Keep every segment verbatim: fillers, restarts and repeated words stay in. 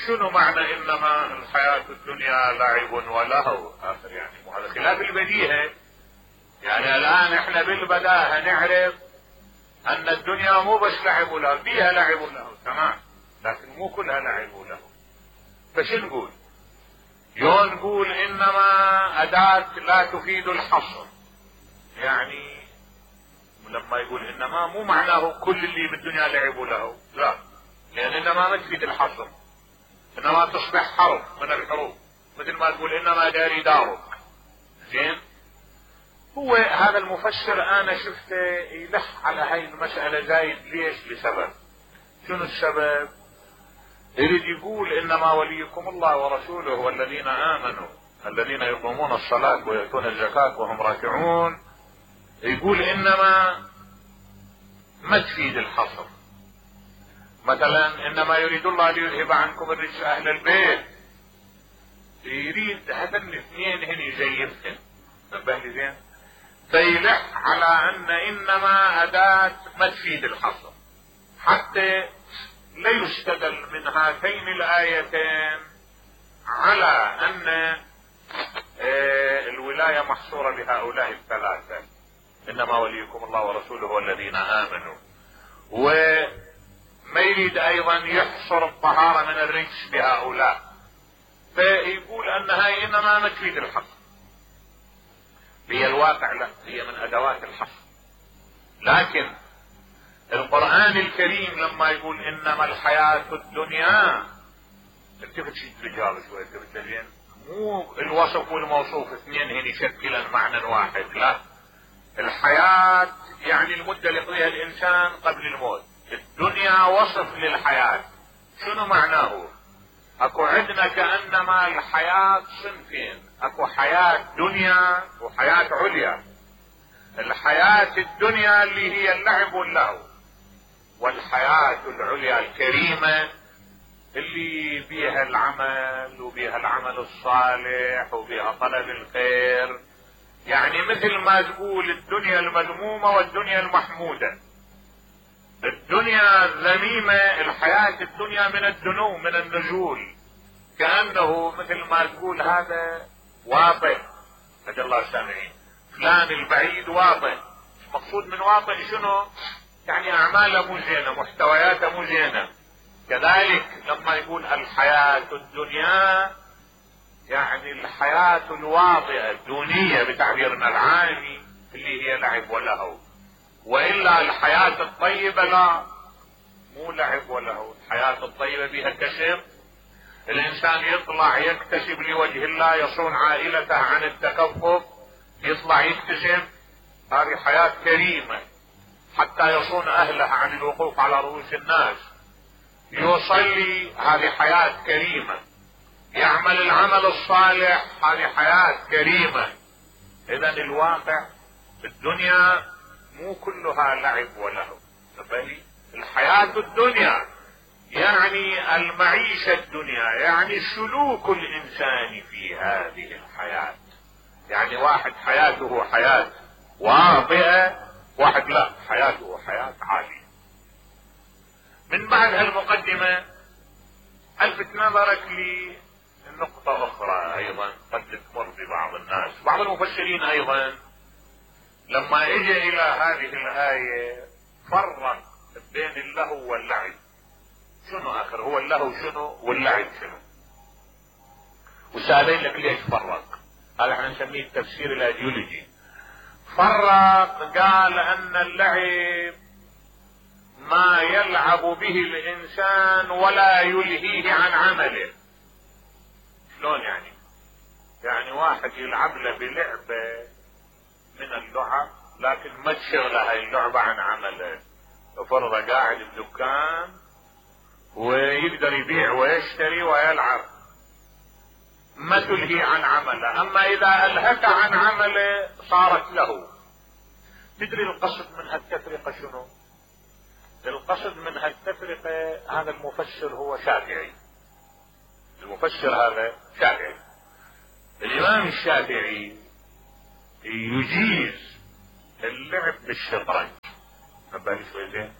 شنو معنى انما الحياة الدنيا لعب ولهو؟ اخر يعني وهذا خلاف البديهة. يعني الان احنا بالبداهة نعرف ان الدنيا مو بس لعب ولهو، فيها لعب ولهو تمام، لكن مو كلها لعب ولهو. فش نقول؟ يو نقول انما اداة لا تفيد الحصر. يعني لما يقول انما مو معناه كل اللي بالدنيا لعب ولهو، لا، لان انما ما تفيد الحصر، انما تصبح حرف من الحروف، مثل ما تقول انما داري دارك. زين، هو هذا المفسر انا شفته يلح على هاي المسألة زايد. ليش؟ لسبب. شنو السبب؟ يريد يقول انما وليكم الله ورسوله والذين امنوا الذين يقومون الصلاة ويؤتون الزكاة وهم راكعون. يقول انما ما تفيد الحصر. مثلا انما يريد الله ليذهب عنكم الرجس اهل البيت، يريد هذا الاثنين هن يزيفهن. نبه لي زين؟ فيلح على ان انما اداة ما تفيد الحصر، حتى لا يستدل من هاتين الايتين على ان الولاية محصورة بهؤلاء الثلاثة، انما وليكم الله ورسوله والذين امنوا. وما يريد ايضا يحصر الطهارة من الرجس بهؤلاء، فيقول ان هاي انما ما تفيد الحصر. هي الواقع لا، هي من ادوات الحصر. لكن القرآن الكريم لما يقول انما الحياة الدنيا، التفت شيء رجال شوي، التفت زين، مو الوصف والموصوف اثنين هن يشكلن معنى واحد، لا. الحياة يعني المدة اللي يقضيها الانسان قبل الموت. الدنيا وصف للحياة. شنو معناه؟ اكو عندنا كأنما الحياة صنفين، اكو حياة دنيا وحياة عليا. الحياة الدنيا اللي هي اللعب واللهو، والحياة العليا الكريمة اللي بيها العمل وبيها العمل الصالح وبيها طلب الخير. يعني مثل ما تقول الدنيا المذمومة والدنيا المحمودة. الدنيا الذميمة، الحياة الدنيا من الدنو، من النزول، كأنه مثل ما تقول هذا واطئ. هدى الله السامعين، فلان البعيد واطئ. مقصود من واطئ شنو؟ يعني اعماله مو زينة، محتوياته مو زينة. كذلك لما يقول الحياة الدنيا، يعني الحياة الواطئة الدونية بتعبيرنا العامي اللي هي لعب ولهو. والا الحياة الطيبة لا، مو لعب ولهو. الحياة الطيبة بها كسب، الانسان يطلع يكتسب لوجه الله، يصون عائلته عن التكفف، يطلع يكتسب، هذه حياة كريمة. حتى يصون اهله عن الوقوف على رؤوس الناس، يصلي، هذه حياة كريمة. يعمل العمل الصالح، هذه حياة كريمة. اذا الواقع الدنيا مو كلها لعب ولهو، بل الحياة الدنيا يعني المعيشة الدنيا، يعني سلوك الانسان في هذه الحياة. يعني واحد حياته حياة واطئة، واحد لا، حياته حياة عالية. من بعد هالمقدمة الفت نظرك لنقطة اخرى ايضا قد تمر ببعض الناس. بعض المفسرين ايضا لما اجى الى هذه الآية فرق بين اللهو واللعب. شنو اخر؟ هو اللهو شنو واللعب شنو؟ وسألين لك ليش فرق؟ هذا احنا نسميه التفسير الايديولوجي. فرق، قال ان اللعب ما يلعب به الانسان ولا يلهيه عن عمله. شلون يعني؟ يعني واحد يلعب له بلعبة من اللعب لكن ما تشغله هاي اللعبة عن عمله. فرض قاعد بدكان ويقدر يبيع ويشتري ويلعب، ما تلهي عن عمله. اما اذا الهك عن عمله صارت له. تدري القصد من هالتفرقة شنو؟ القصد من هالتفرقة، هذا المفسر هو شافعي. المفسر هذا شافعي. الامام الشافعي يجيز اللعب بالشطرنج. نبالي شوي زين.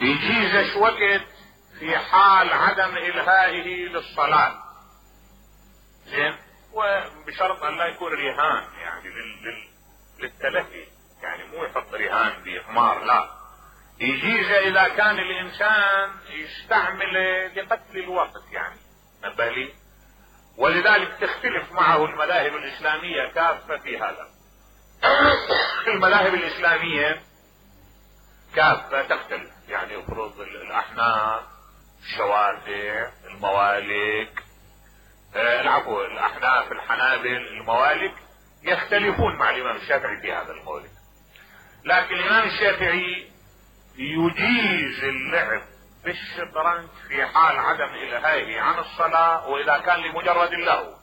يجيزش وقت في حال عدم إلهائه للصلاة، زين، وبشرط ان لا يكون رهان يعني لل... للتلهي، يعني مو يحط رهان بإقمار، لا، يجيز اذا كان الانسان يستعمله لقتل الوقت يعني، نبالي. ولذلك تختلف معه المذاهب الاسلامية كافة في هذا. المذاهب الاسلامية كافة تختلف، يعني افرض الاحناف، الشوافع، الموالك، العفو الاحناف، الحنابل، الموالك يختلفون مع الامام الشافعي في هذا المولد. لكن الامام الشافعي يجيز اللعب بالشطرنج في حال عدم الهائه عن الصلاة، واذا كان لمجرد اللهو.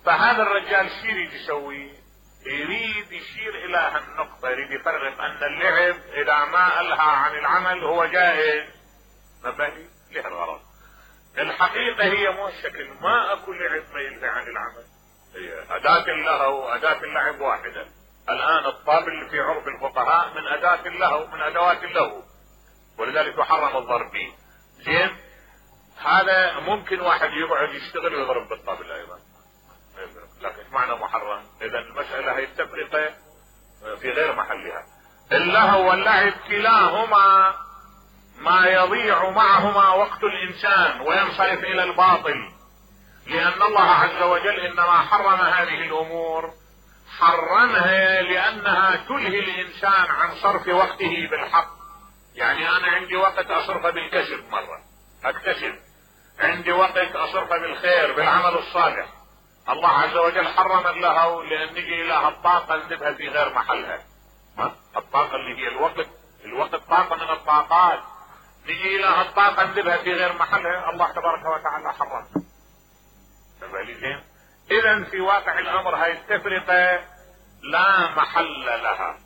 فهذا الرجال شو يريد يسوي؟ يريد يشير الى هالنقطة، يريد يفرق ان اللعب اذا ما الهى عن العمل هو جائز، مبالي له الغرض. الحقيقة هي مو الشكل، ما اكو لعب ما يلهي عن العمل، هي اداة اللهو واداة اللعب واحدة. الان الطابل في عرف الفقهاء من اداة اللهو، من ادوات اللهو، ولذلك يحرم الضرب به. زين، هذا ممكن واحد يقعد يشتغل ويضرب بالطابل ايضا، لكن ايش معنى محرم؟ اذا المسألة هي التفرقة في غير محلها. اللهو واللعب كلاهما ما يضيع معهما وقت الانسان وينصرف الى الباطل، لان الله عز وجل انما حرم هذه الامور، حرمها لانها تلهي الانسان عن صرف وقته بالحق. يعني انا عندي وقت اصرفه بالكسب، مرة اكتسب، عندي وقت اصرفه بالخير بالعمل الصالح. الله عز وجل حرم اللهو لان نجي الى الطاقة نذبها في غير محلها. ما الطاقة اللي هي الوقت، الوقت طاقة من الطاقات، نجي الى الطاقة نذبها في غير محلها، الله تبارك وتعالى حرم. اذا في واقع الامر هاي التفرقة لا محل لها.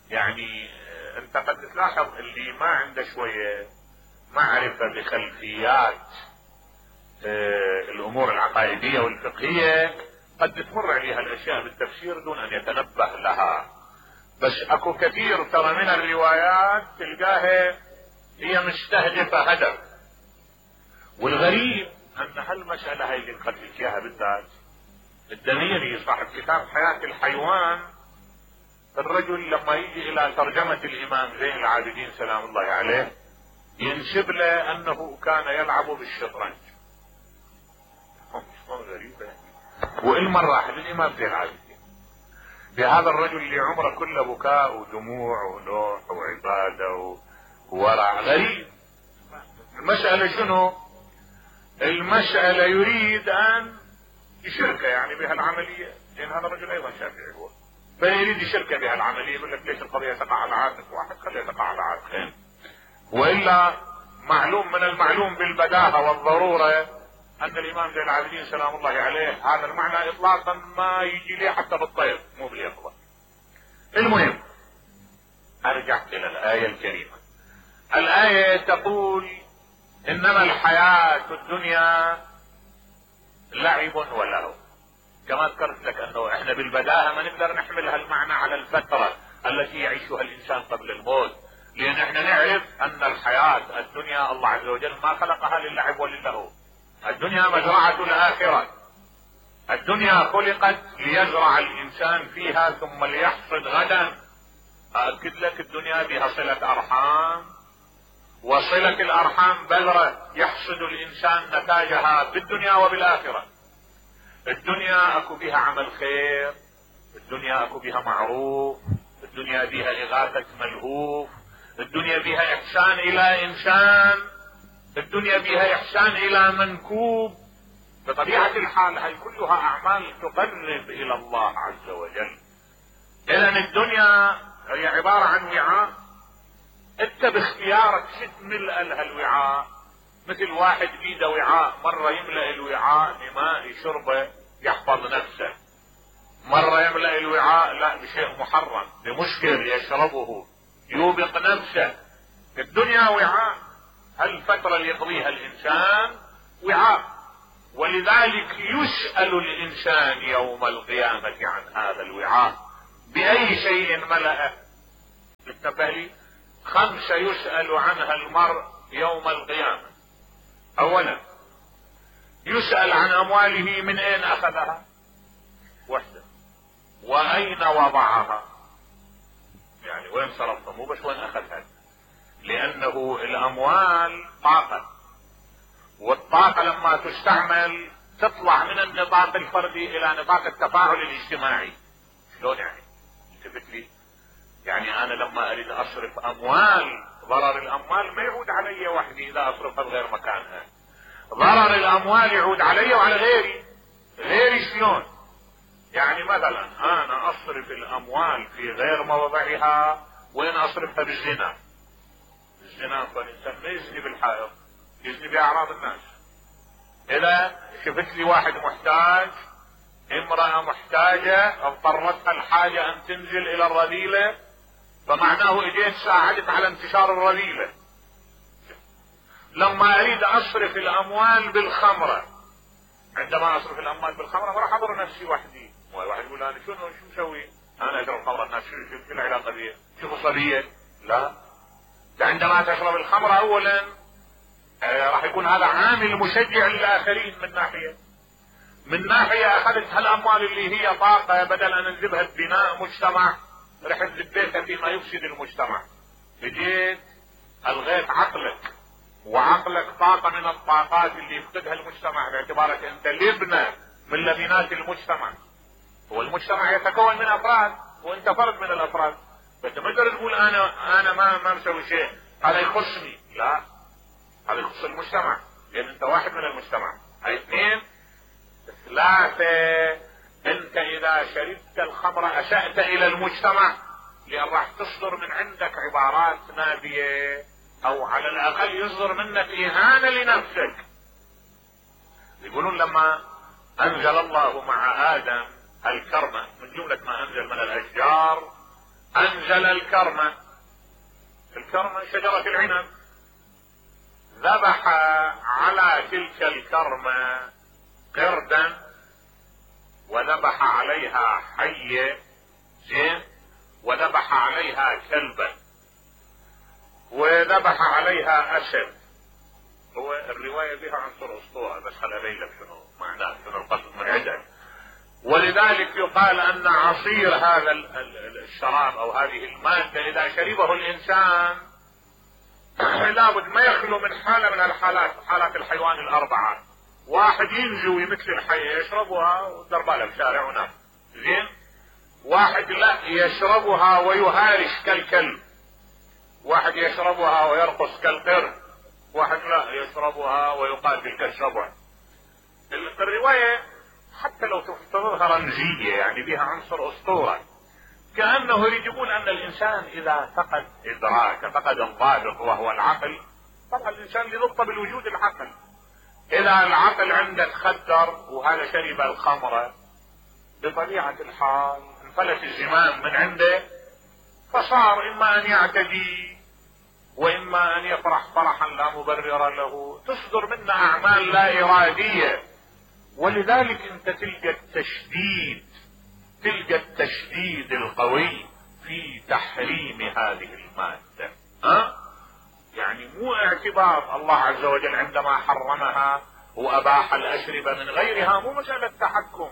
يعني انت قد تلاحظ اللي ما عنده شوية معرفة بخلفيات اه الامور العقائدية والفقهية قد تمر عليها الاشياء بالتفسير دون ان يتنبه لها. بس اكو كثير ترى من الروايات تلقاها هي مستهدفة هدف. والغريب ان هالمسألة هاي اللي نخليك اياها بالذات الدميري صاحب كتاب حياة الحيوان، الرجل لما يجي الى ترجمة الامام زين العابدين سلام الله عليه ينسب له انه كان يلعب بالشطرنج. غريبة. وإلما راح للامام زين العابدين بهذا الرجل اللي عمره كله بكاء ودموع ونوح وعبادة وورع. غريب. المسألة شنو؟ المسألة يريد ان يشركه يعني بهالعملية، لان هذا الرجل ايضا شافعي هو، فيريد يشركه بهالعملية. يقول لك ليش القضية تقع على عاتق واحد، خليها تقع على عاتقين. والا معلوم من المعلوم بالبداهة والضرورة ان الامام زين العابدين سلام الله عليه هذا المعنى اطلاقا ما يجي ليه حتى بالطير، مو باليقظة. المهم ارجع الى الآية الكريمة. الآية تقول انما الحياة الدنيا لعب ولهو. كما ذكرت لك انه احنا بالبداهة ما نقدر نحمل هالمعنى على الفترة التي يعيشها الانسان قبل الموت، لان احنا نعرف ان الحياة الدنيا الله عز وجل ما خلقها للعب وللهو. الدنيا مزرعة الاخرة. الدنيا خلقت ليزرع الانسان فيها ثم ليحصد غدا. اكد لك الدنيا بها صلة ارحام، وصلة الارحام بذرة يحصد الانسان نتاجها بالدنيا وبالاخرة. الدنيا اكو بها عمل خير، الدنيا اكو بها معروف، الدنيا بها اغاثة ملهوف، الدنيا بها احسان الى انسان، الدنيا بها احسان الى منكوب. بطبيعة الحال هاي كلها اعمال تقرب الى الله عز وجل. اذا الدنيا هي عبارة عن وعاء، انت باختيارك شد ملء لها الوعاء. مثل واحد بيده وعاء، مرة يملأ الوعاء بماء شربه يحفظ نفسه، مرة يملأ الوعاء لا بشيء محرم بمشكل يشربه يوبق نفسه. الدنيا وعاء، هالفترة اللي يقضيها الانسان وعاء، ولذلك يسأل الانسان يوم القيامة عن هذا الوعاء بأي شيء ملأه. انتبه لي، خمسة يسأل عنها المرء يوم القيامة اولا يسأل عن امواله من اين اخذها وحده، واين وضعها، يعني وين صرفها، مو بس وين اخذها، لانه الاموال طاقة، والطاقة لما تستعمل تطلع من النطاق الفردي الى نطاق التفاعل الاجتماعي. شلون يعني؟ التفت لي، يعني انا لما اريد اصرف اموال، ضرر الاموال ما يعود علي وحدي اذا اصرفها بغير مكانها، ضرر الاموال يعود علي وعلى غيري. غيري شلون؟ يعني مثلا انا اصرف الاموال في غير موضعها، وين اصرفها؟ بالزنا. الزنا فالانسان ما يزني بالحائط، يزني باعراض الناس. اذا شفت لي واحد محتاج، امرأة محتاجة اضطرتها الحاجة ان تنزل الى الرذيلة، فمعناه اجيت ساعدت على انتشار الرذيلة. لما اريد اصرف الاموال بالخمرة، عندما اصرف الاموال بالخمرة ما راح اضر نفسي وحدي. واحد يقول انا شنو شو مسوي؟ انا اشرب خمرة، الناس شو شو العلاقة بي؟ شو خصوصية؟ لا، عندما تشرب الخمرة اولا آه راح يكون هذا عامل مشجع للاخرين من ناحية، من ناحية اخذت هالاموال اللي هي طاقة، بدل ان انذبها ببناء مجتمع رحت ذبيتها فيما يفسد المجتمع. بديت الغيت عقلك، وعقلك طاقة من الطاقات اللي يفقدها المجتمع، باعتبارك انت لبنة من لبنات المجتمع. هو المجتمع يتكون من افراد وانت فرد من الافراد، فانت ما تقدر تقول انا انا ما ما مسوي شيء هذا يخصني، لا، هذا يخص المجتمع لان انت واحد من المجتمع. هاي اثنين. ثلاثة، انت اذا شربت الخمر اسأت الى المجتمع، لان راح تصدر من عندك عبارات نابية، او على الاقل يصدر منك اهانة لنفسك. يقولون لما انزل الله مع ادم الكرمة، من جملة ما انزل من الاشجار انزل الكرمة. الكرمة شجرة العنب، ذبح على تلك الكرمة قردا، وذبح عليها حية، زين، وذبح عليها كلبا، وذبح عليها اسد. هو الرواية بها عنصر اسطورة، بس خل ابين لك شنو معناه، شنو القصد من عندك. ولذلك يقال ان عصير هذا الشراب او هذه المادة اذا شربه الانسان لابد ما يخلو من حالة من الحالات، حالات الحيوان الاربعة. واحد ينزوي مثل الحية يشربها ودربالها بشارع ونام، زين. واحد لا يشربها ويهارش كالكلب، واحد يشربها ويرقص كالقرد، واحد لا يشربها ويقاتل كالسبع. الرواية حتى لو تفترضها رمزية يعني بها عنصر اسطورة، كأنه يريد يقول ان الانسان اذا فقد ادراك، فقد الضابط وهو العقل. طبعا الانسان لضبط بالوجود العقل. اذا العقل عندك خدر وهذا شرب الخمرة، بطبيعة الحال انفلت الزمام من عنده، فصار اما ان يعتدي واما ان يفرح فرحا لا مبرر له، تصدر منه اعمال لا ارادية. ولذلك انت تلقى التشديد، تلقى التشديد القوي في تحريم هذه المادة. ها؟ يعني مو اعتبار الله عز وجل عندما حرمها واباح الاشربة من غيرها، مو مسألة تحكم.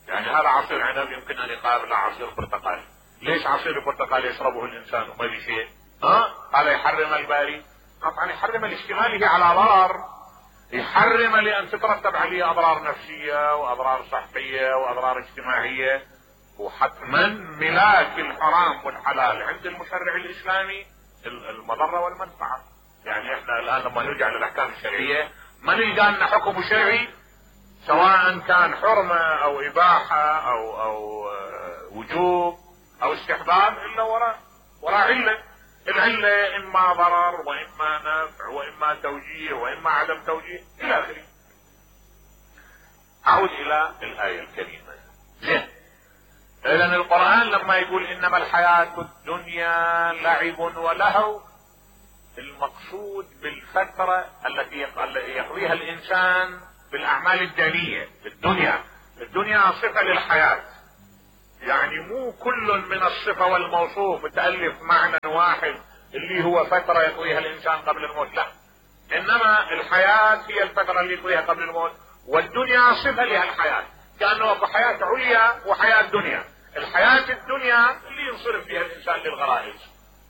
يعني هذا عصير عنب يمكن ان يقابل عصير برتقال، ليش عصير البرتقال يشربه الانسان وما لي شيء؟ ها؟ هذا يحرم الباري؟ طبعا يحرم الاشتمال على ضرر، يحرم لان تترتب عليه اضرار نفسية واضرار صحية واضرار اجتماعية. وحتما ملاك الحرام والحلال عند المشرع الاسلامي المضرة والمنفعة. يعني احنا الان لما نرجع للاحكام الشرعية ما نلقى لنا حكم شرعي سواء كان حرمة او اباحة او او وجوب او استحباب الا وراء وراء علة. العلة اما ضرر واما نفع واما توجيه واما عدم توجيه الى اخره. اعود الى الاية الكريمة. زين، اذا القرآن لما يقول انما الحياة الدنيا لعب ولهو، المقصود بالفترة التي يقضيها الانسان بالاعمال الدنيئة في الدنيا. الدنيا صفة للحياة، يعني مو كل من الصفة والموصوف متألف معنى واحد اللي هو فترة يقضيها الانسان قبل الموت، لا، انما الحياة هي الفترة اللي فيها قبل الموت، والدنيا صفة لها الحياة، كأنه اكو حياة عليا وحياة دنيا. الحياة الدنيا اللي ينصرف فيها الانسان للغرائز،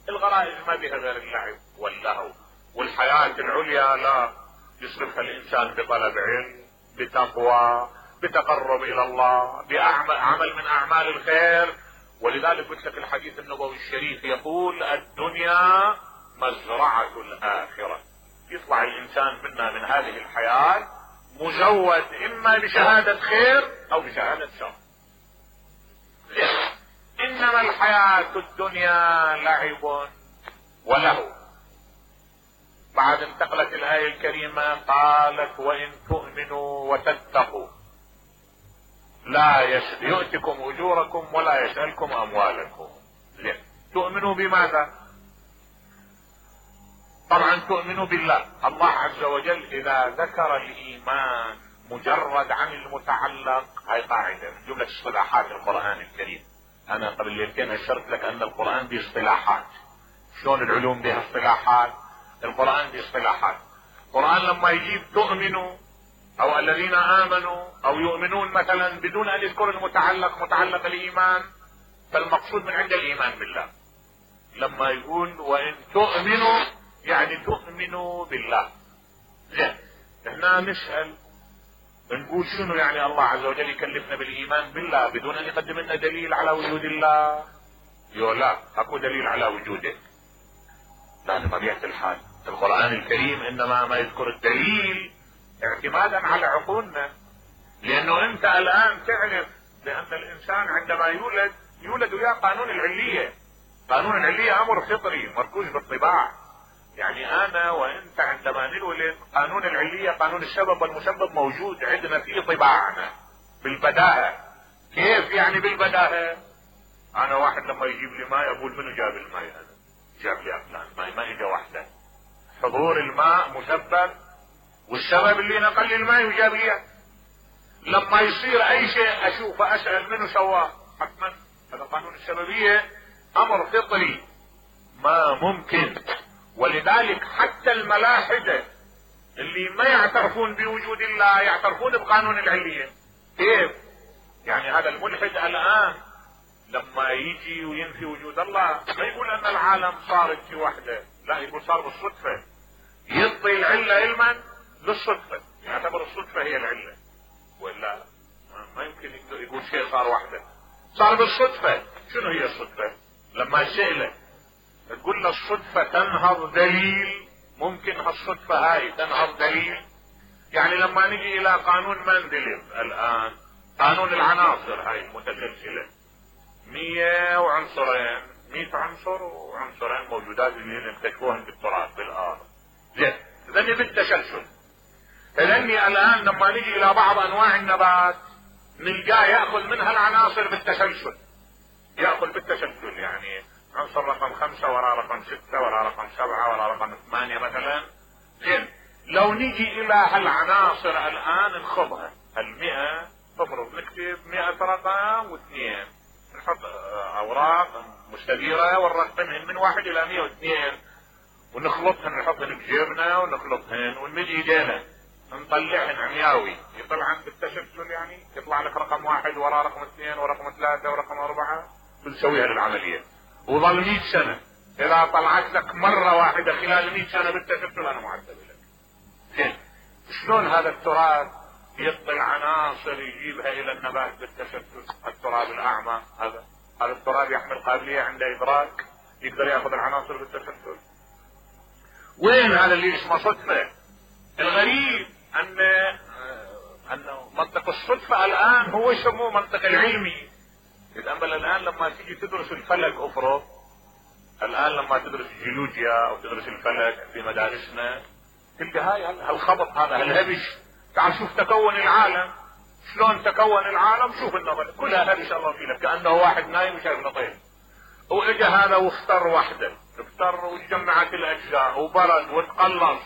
الغرائز ما بها غير اللعب واللهو، والحياة العليا لا، يصرفها الانسان بطلب علم، بتقوى، بتقرب الى الله، بعمل من اعمال الخير. ولذلك قلت لك الحديث النبوي الشريف يقول الدنيا مزرعة الاخرة. يطلع الانسان منا من هذه الحياة مزود اما بشهادة خير او بشهادة شر. انما الحياة الدنيا لعب ولهو. بعد انتقلت الآية الكريمة قالت وإن تؤمنوا وتتقوا لا يؤتكم أجوركم ولا يسألكم أموالكم. تؤمنوا بماذا؟ طبعا تؤمنوا بالله. الله عز وجل إذا ذكر الإيمان مجرد عن المتعلق، هاي قاعدة من جملة اصطلاحات القرآن الكريم. أنا قبل ليلتين أشرت لك أن القرآن باصطلاحات. شلون العلوم بها اصطلاحات؟ القرآن باصطلاحات. القرآن لما يجيب تؤمنوا او الذين امنوا او يؤمنون مثلا بدون ان يذكر المتعلق متعلق الايمان، فالمقصود من عند الايمان بالله. لما يقول وان تؤمنوا يعني تؤمنوا بالله. زين، هنا نسأل نقول شنو يعني الله عز وجل يكلفنا بالايمان بالله بدون ان يقدم لنا دليل على وجود الله؟ يقول لا، اكو دليل على وجوده. لان طبيعة الحال القرآن الكريم انما ما يذكر الدليل اعتمادا على عقولنا. لانه انت الان تعرف بان الانسان عندما يولد يولد وياه قانون العلية. قانون العلية امر فطري مركوز بالطباع. يعني انا وانت عندما نولد قانون العلية، قانون السبب والمسبب موجود عندنا في طباعنا بالبداهة. كيف يعني بالبداهة؟ انا واحد لما يجيب لي ماء اقول منو جاب الماء؟ هذا جاب لي فلان ماء، ما اجى وحده. حضور الماء مسبب، والسبب اللي نقل لي الماء وجاب لي. لما يصير اي شيء اشوف اسال منو سواه؟ حتما هذا قانون السببية امر فطري ما ممكن. ولذلك حتى الملاحدة اللي ما يعترفون بوجود الله يعترفون بقانون العلية. كيف؟ يعني هذا الملحد الان لما يجي وينفي وجود الله ما يقول ان العالم صارت في وحده، لا، يقول صار بالصدفة. يعطي العلة علما بالصدفة، يعتبر الصدفة هي العلة، ولا ما يمكن يقول شيء صار وحده، صار بالصدفة. شنو هي الصدفة؟ لما سئله تقول له الصدفة تنهض دليل، ممكن هالصدفة هاي تنهض دليل؟ يعني لما نجي الى قانون مندليف الان، قانون العناصر هاي المتسلسلة، مية وعنصرين، مية عنصر وعنصرين موجودات اللي نكتشفوهن بالتراب بالارض. زين، ذني بالتسلسل. فذني الان لما نجي الى بعض انواع النبات نلقاه ياخذ منها العناصر بالتسلسل، ياخذ بالتسلسل. يعني عنصر رقم خمسة ورا رقم ستة ورا رقم سبعة ورا رقم ثمانية مثلا. زين، لو نجي الى هالعناصر الان نخضها، المئة تفرض نكتب مئة رقم واثنين، نحط اوراق مستديرة ونرقمهن من واحد الى مئة واثنين ونخلطهن، نحطهن بجيبنا ونخلطهن ونمد ايدينا نطلعهن عمياوي. يطلع عند التسلسل يعني يطلع لك رقم واحد ورا رقم اثنين ورقم ثلاثة ورقم اربعة، بنسويها للعملية. وظل مئة سنة، اذا طلعت لك مرة واحدة خلال مئة سنة بالتسلسل انا معذب لك. زين، شلون هذا التراب يعطي عناصر يجيبها الى النبات بالتسلسل؟ التراب الاعمى هذا، هذا التراب يحمل قابلية عند ادراك، يقدر ياخذ العناصر بالتسلسل. وين هذا اللي اسمه صدفة؟ الغريب ان ان منطق الصدفة الان هو يسموه منطق العلمي. يتأمل الان لما تيجي تدرس الفلك افرض، الان لما تدرس الجيولوجيا او تدرس الفلك في مدارسنا تلقى هاي هالخبط هذا هالهبش. تعال شوف تكون العالم، شلون تكون العالم، شوف النظر كلها هبش الله فيه لك، كأنه واحد نايم وشايف نطير. واجا هذا واختار وحده، اختار وجمعت الاجزاء وبرد وتقلص.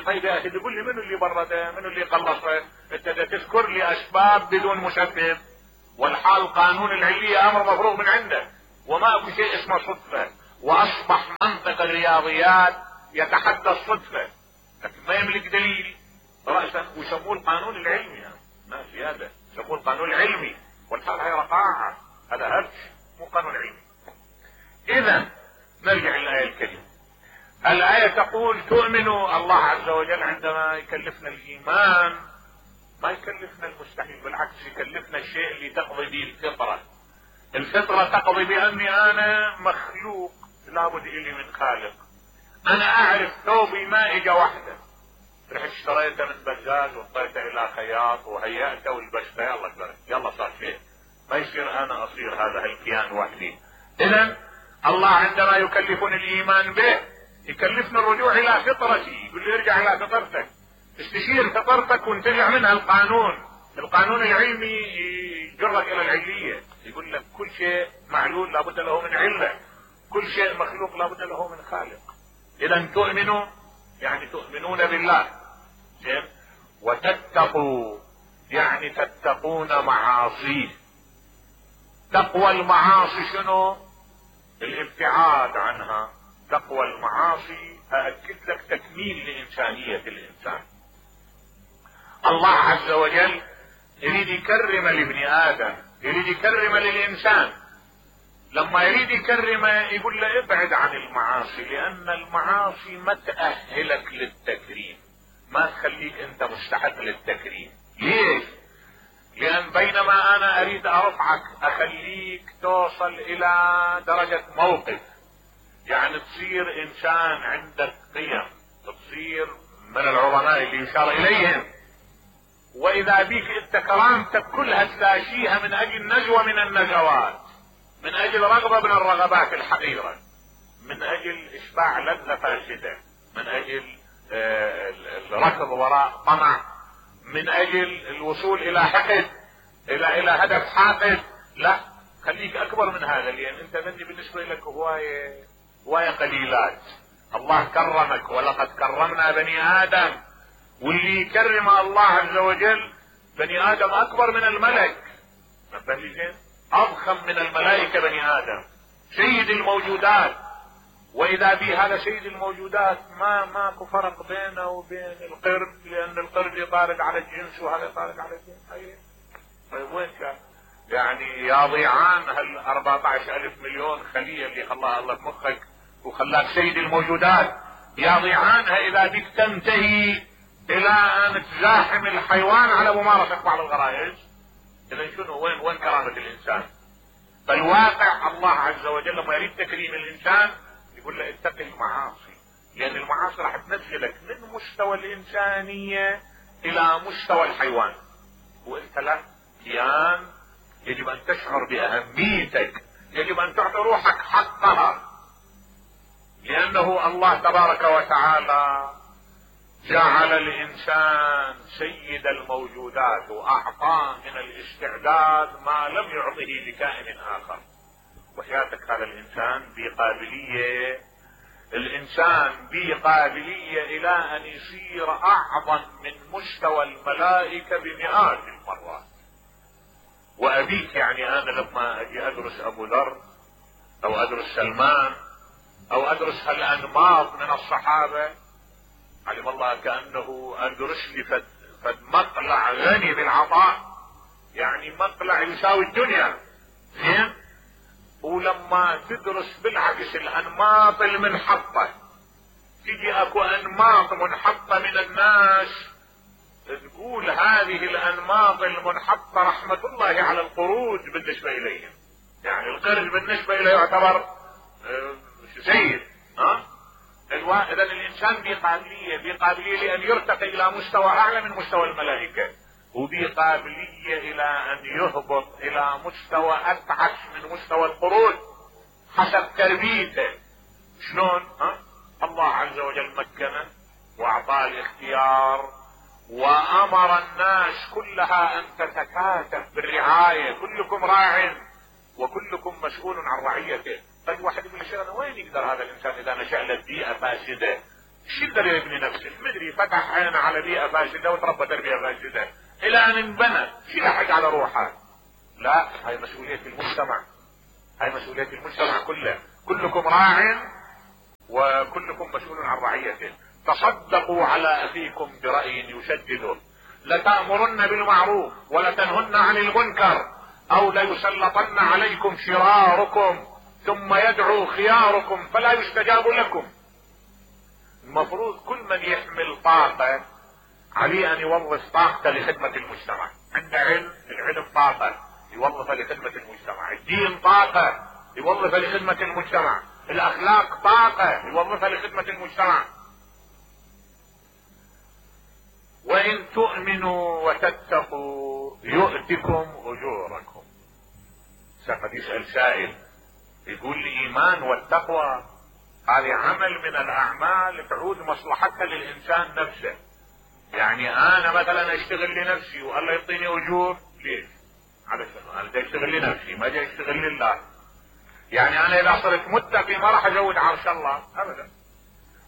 طيب يا اخي تقول لي منو اللي برده؟ منو اللي قلصه؟ انت تذكر لي اسباب بدون مسبب، والحال قانون العلية امر مفروغ من عنده، وما اكو شيء اسمه صدفة. واصبح منطق الرياضيات يتحدى الصدفة. لكن ما يملك دليل رأسا، ويسموه القانون العلمي. يعني ماشي، هذا يسموه القانون العلمي، والحال هي رقاعة، هذا هرج مو قانون علمي. اذا نرجع للآية الكريمة. الآية تقول تؤمنوا الله عز وجل عندما يكلفنا الإيمان ما يكلفنا المستحيل، بالعكس يكلفنا الشيء اللي تقضي به الفطرة. الفطرة تقضي بأني أنا مخلوق لابد إلي من خالق. أنا أعرف ثوبي ما إجا واحدة، رحت اشتريته من بزاز وطيته إلى خياط وهيأته ولبسته، يلا كبرت يلا صار شيء، ما يصير أنا أصير هذا الكيان وحدي. إذا الله عندما يكلفني الإيمان به يكلفنا الرجوع إلى فطرتي، يقول لي ارجع إلى فطرتك، استشير فطرتك وانتزع منها القانون. القانون العلمي يجرك إلى العلية، يقول لك كل شيء معلول لابد له من علة، كل شيء مخلوق لابد له من خالق. إذا تؤمنوا يعني تؤمنون بالله، وتتقوا يعني تتقون معاصيه. تقوى المعاصي شنو؟ الابتعاد عنها. تقوى المعاصي أأكد لك تكميل لإنسانية الإنسان. الله عز وجل يريد يكرم لابن آدم، يريد يكرم للإنسان. لما يريد يكرمه يقول له ابعد عن المعاصي، لأن المعاصي ما تأهلك للتكريم، ما تخليك أنت مستحق للتكريم. ليش؟ لأن بينما أنا أريد أرفعك أخليك توصل إلى درجة موقف، يعني تصير إنسان عندك قيم، تصير من العظماء اللي يشار إليهم، وإذا بيك أنت كرامتك كلها تلاشيها من أجل نزوة من النزوات، من أجل رغبة من الرغبات الحقيرة، من أجل إشباع لذة فاسدة، من أجل الركض وراء طمع، من اجل الوصول الى حقد، الى الى هدف حاقد. لا، خليك اكبر من هذا، لان انت ذني بالنسبة لك هواية هواية قليلات. الله كرمك، ولقد كرمنا بني ادم، واللي يكرم الله عز وجل بني ادم اكبر من الملك، اضخم من الملائكة بني ادم، سيد الموجودات. واذا بي هذا سيد الموجودات ما ماكو فرق بينه وبين القرد، لان القرد يطارد على الجنس وهذا يطارد على الجنس. طيب وين كان؟ يعني يا ضيعان هال أربعة عشر ألف مليون خلية اللي خلاها الله بمخك وخلاك سيد الموجودات، يا ضيعانها اذا بك تنتهي الى ان تزاحم الحيوان على ممارسة بعض الغرائز، اذا شنو وين وين كرامة الانسان؟ فالواقع الله عز وجل لما يريد تكريم الانسان يقول له اتق المعاصي، لان المعاصي راح تنزلك من مستوى الانسانية الى مستوى الحيوان، وانت لا كيان يجب ان تشعر باهميتك، يجب ان تعطي روحك حقها، لانه الله تبارك وتعالى جعل الانسان سيد الموجودات واعطاه من الاستعداد ما لم يعطه لكائن اخر. وحياتك هذا الانسان بقابلية، الانسان بقابلية الى ان يصير اعظم من مستوى الملائكة بمئات المرات. وابيك يعني انا لما اجي ادرس ابو ذر او ادرس سلمان او ادرس هالانماط من الصحابة، علم الله كأنه ادرس لي فد, فد مقلع غني بالعطاء، يعني مقلع يساوي الدنيا. زين؟ ولما تدرس بالعكس الانماط المنحطة، تجي اكو انماط منحطة من الناس تقول هذه الانماط المنحطة رحمة الله على القرود بالنسبة اليهم، يعني القرد بالنسبة اليه يعتبر سيد. ها؟ اذا الانسان بقابلية بقابلية لان يرتقي الى مستوى اعلى من مستوى الملائكة، وبقابلية الى ان يهبط الى مستوى اتعس من مستوى القرود حسب تربيته. شلون؟ ها؟ الله عز وجل مكنه واعطاه الاختيار وامر الناس كلها ان تتكاتف بالرعاية، كلكم راع وكلكم مسؤول عن رعيته. طيب واحد يقول لي وين يقدر هذا الانسان اذا نشأ له بيئة فاسدة؟ شو يقدر يبني نفسه؟ مدري فتح عينه على بيئة فاسدة وتربى تربية فاسدة الى ان انبنى، شو يلحق على روحه؟ لا، هاي مسؤولية المجتمع، هاي مسؤولية المجتمع كله، كلكم راع وكلكم مسؤول عن رعيته. تصدقوا على اخيكم برأي يشدده، لتأمرن بالمعروف ولتنهن عن المنكر، او ليسلطن عليكم شراركم ثم يدعو خياركم فلا يستجاب لكم. المفروض كل من يحمل طاقة عليه ان يوظف طاقته لخدمة المجتمع. عنده علم، العلم طاقة يوظفها لخدمة المجتمع، الدين طاقة يوظفها لخدمة المجتمع، الاخلاق طاقة يوظفها لخدمة المجتمع. وان تؤمنوا وتتقوا يؤتكم اجوركم. قد يسأل سائل يقول لي ايمان والتقوى هذه عمل من الاعمال تعود مصلحتها للانسان نفسه، يعني انا مثلا اشتغل لنفسي والله يعطيني اجور، ليش؟ على شنو؟ انا جاي اشتغل لنفسي ما جاي اشتغل لله. يعني انا اذا صرت متقي ما راح ازود عرش الله ابدا،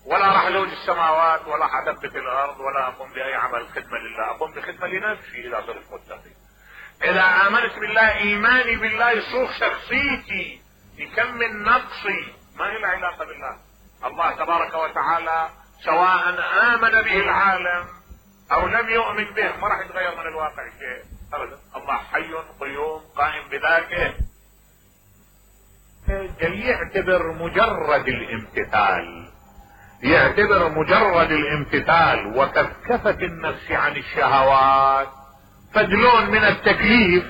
ولا راح ازود السماوات، ولا حدبت الارض، ولا اقوم باي عمل خدمه لله، اقوم بخدمه لنفسي اذا صرت متقي. اذا امنت بالله ايماني بالله يصوغ شخصيتي، يكمل نقصي، ما له علاقه بالله. الله تبارك وتعالى سواء امن به العالم او لم يؤمن به ما راح يتغير من الواقع شيء ابدا. الله حي قيوم قائم بذاته. يعتبر مجرد الامتثال، يعتبر مجرد الامتثال وكفكفة النفس عن الشهوات فدلون من التكليف،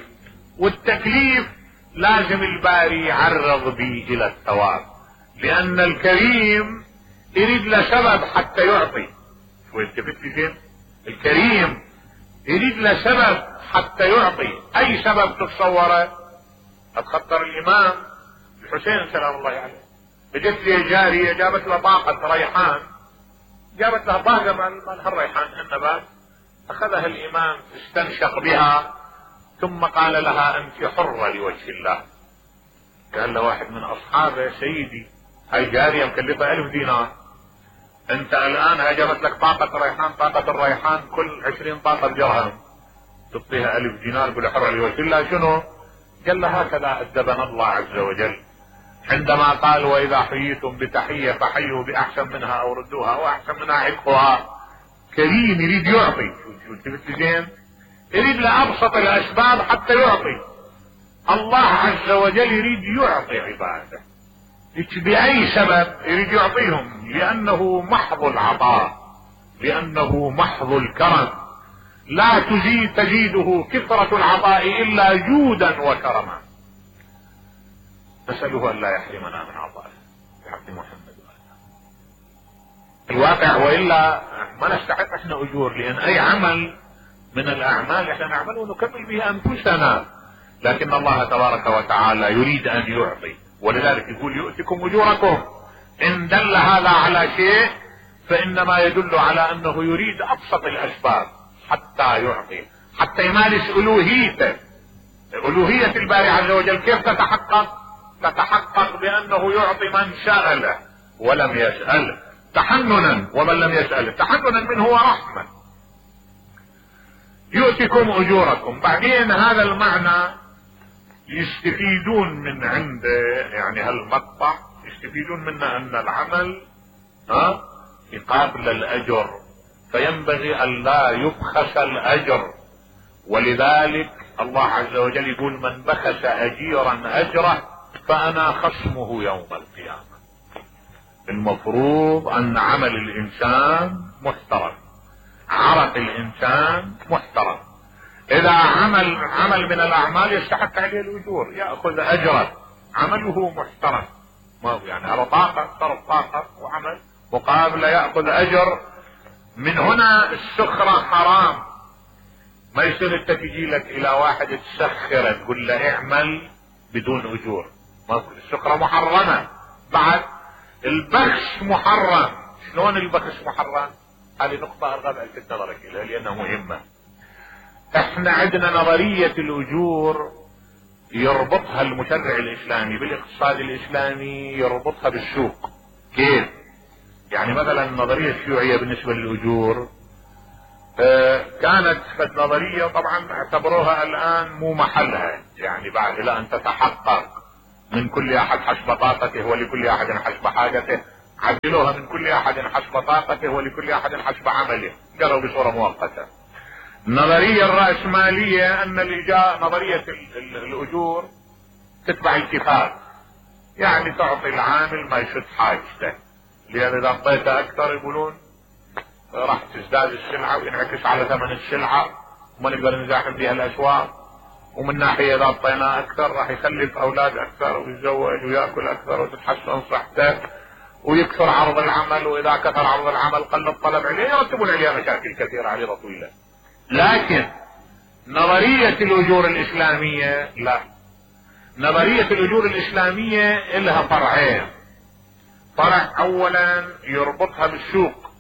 والتكليف لازم الباري يعرض به الى الثواب، لان الكريم يريد له سبب حتى يعطي. شو التفت زين؟ الكريم يريد له سبب حتى يعطي. اي سبب تتصوره؟ اتخطر الامام الحسين سلام الله عليه، اجت لي جارية جابت له طاقة ريحان، جابت له طاقة من هالريحان النبات، اخذها الامام استنشق بها ثم قال لها انت حرة لوجه الله. قال له واحد من اصحابه سيدي هاي جارية مكلفة الف دينار، انت الان هاي جابت لك طاقة ريحان، طاقة الريحان كل عشرين طاقة بدرهم، تعطيها الف دينار بالحرة لوجه الله شنو؟ قال له هكذا ادبنا الله عز وجل عندما قال واذا حييتم بتحية فحيوا باحسن منها او ردوها واحسن منها عتقها. كريم يريد يعطي، شو زين؟ يريد لابسط الاسباب حتى يعطي. الله عز وجل يريد يعطي عباده باي سبب يريد يعطيهم، لانه محض العطاء، لانه محض الكرم. لا تزيد تزيده كثرة العطاء الا جودا وكرما. نسأله ان لا يحرمنا من عطائه بحق محمد الواقع، والا ما نستحق احنا اجور، لان اي عمل من الاعمال احنا نعمله ونكمل به انفسنا، لكن الله تبارك وتعالى يريد ان يعطي، ولذلك يقول يؤتكم اجوركم. ان دل هذا على شيء فانما يدل على انه يريد ابسط الاسباب حتى يعطي، حتى يمارس الوهيته. الوهية الباري عز وجل كيف تتحقق؟ تتحقق بانه يعطي من سأله ولم يسأله تحننا، ومن لم يسأله تحننا منه ورحمة. يؤتكم اجوركم. بعدين هذا المعنى يستفيدون من عند يعني هالمقطع، يستفيدون منه ان العمل ها يقابل الاجر، فينبغي ان لا يبخس الاجر. ولذلك الله عز وجل يقول من بخس اجيرا اجره فانا خصمه يوم القيامة. المفروض ان عمل الانسان محترم، عرق الانسان محترم. اذا عمل عمل من الاعمال يستحق عليه الاجور ياخذ اجره، عمله محترم، ما هو يعني على طاقه صرف طاقه وعمل مقابله ياخذ اجر. من هنا السخره حرام. ما يصير انت تجي لك الى واحد تسخره تقول له اعمل بدون اجور، ما السخره محرمه. بعد البخس محرم. شلون البخس محرم؟ هذه نقطه ارغب الفت نظرك اليها لانها مهمه. احنا عندنا نظرية الاجور يربطها المشرع الاسلامي بالاقتصاد الاسلامي، يربطها بالسوق. كيف؟ يعني مثلا النظرية الشيوعية بالنسبة للاجور اه كانت فد نظرية طبعا اعتبروها الان مو محلها، يعني بعد لا ان تتحقق من كل احد حسب طاقته ولكل احد حسب حاجته، عدلوها من كل احد حسب طاقته ولكل احد حسب عمله، قالوا بصورة مؤقتة. النظرية الرأسمالية ان الإجاء نظرية الاجور تتبع الكفاءة، يعني تعطي العامل ما يشد حاجته، لان اذا اعطيته اكثر يقولون راح تزداد السلعة وينعكس على ثمن السلعة وما نقدر نزاحم بها الاسواق، ومن ناحية اذا اعطيناه اكثر راح يخلف اولاد اكثر ويتزوج وياكل اكثر وتتحسن صحته ويكثر عرض العمل، واذا كثر عرض العمل قل الطلب عليه، يرتبون عليها مشاكل كثيرة عريضة طويلة. لكن نظرية الاجور الاسلامية لا، نظرية الاجور الاسلامية لها فرعين. فرع اولا يربطها بالسوق،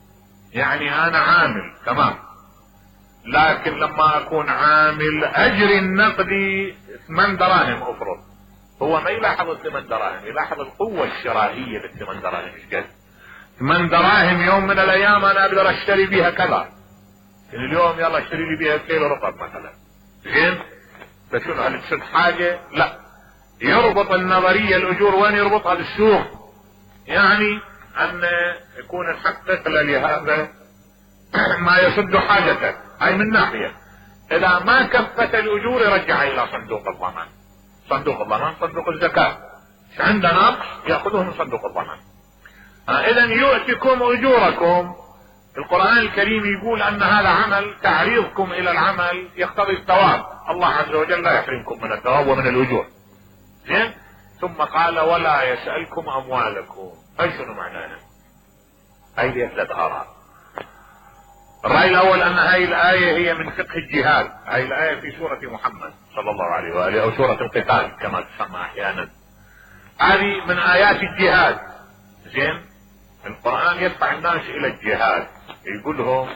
يعني انا عامل تمام، لكن لما اكون عامل اجري النقدي ثمان دراهم افرض، هو ما يلاحظ الثمان دراهم، يلاحظ القوة الشرائية للثمان دراهم ايش قد. ثمان دراهم يوم من الايام انا اقدر اشتري بيها كذا، يعني اليوم يلا اشتري لي بيها كيلو رطب مثلا، زين؟ فشنو هل تشد حاجة؟ لا. يربط النظرية الاجور وين؟ يربطها بالسوق، يعني ان يكون نحقق لهذا ما يسد حاجته، هاي من ناحية. اذا ما كفت الاجور يرجعها الى صندوق الضمان، صندوق الضمان صندوق الزكاة، عند نقص ياخذوه من صندوق الضمان. آه اذا يؤتكم اجوركم، القرآن الكريم يقول ان هذا عمل، تعريضكم الى العمل يقتضي الثواب، الله عز وجل لا يحرمكم من الثواب ومن الاجور، زين؟ ثم قال ولا يسألكم اموالكم. اي شنو معناها؟ هاي لها ثلاث اراء. الرأي الاول ان هاي الاية هي من فقه الجهاد، هاي الاية في سورة محمد صلى الله عليه وآله او سورة القتال كما تسمى احيانا، هذه من ايات الجهاد، زين؟ القرآن يدفع الناس الى الجهاد، يقول لهم